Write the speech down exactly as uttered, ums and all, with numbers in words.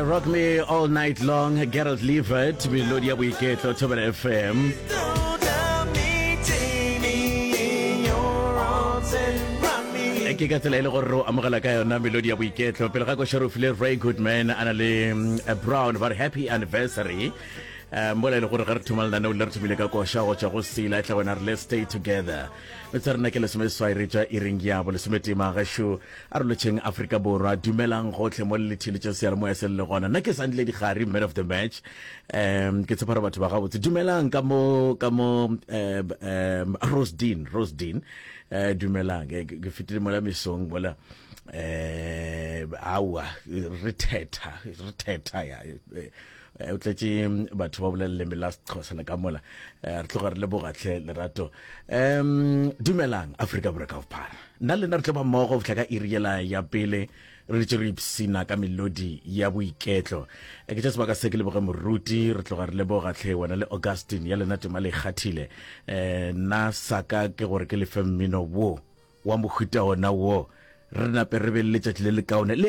Rock Me All Night Long, Gerald Levert, melodi ya boiketlo, Thobela F M. Ke ka tsela e le gore re o amogela ka yona melodi ya boiketlo. Pele ga koša re file Ray Goodman a na le mm, Brown, ba re "Happy Anniversary". um mola e le gore ge re thoma lenaneo le, re thomile ka koša go tšwa go Sela e tla wena re "Let's Stay Together". Metse rena ke lesomeseswai re tšwa iring ya bo lesometee. Magašo a re lotšheng Afrika Borwa, dumelang gotlhe mo le letheletša seyalemoya se le le gona. Nna ke Sandile Dikgari, man of the match. um ke tshepa gore batho ba gabotse. Dumelang ka mo ka mo um um Rosedean, Rosedean, um dumelang. ke ke fetile mola mesong mola, um aowa, re thetha re thetha ya eh, o tletše batho ba bolela leleme la Sexhosa le ka mola. Eh, re tloga re lebogatlhe lerato. um dumelang Afrika Borwa ka bophara. Nna le nna re tlo ba mmogo go fihla ka iri yela ya pele, re ditše re ipsina ka melodi ya boiketlo. Eh, ke tša sebaka se ke leboge moruti. Re tloga re lebogatlhe wena le Augustine ya lena tema le ikgathile. um nna saka ke gore ke lefe mmino wo wa mohuta ona wo, re nape re be le letšatši le le kaone le.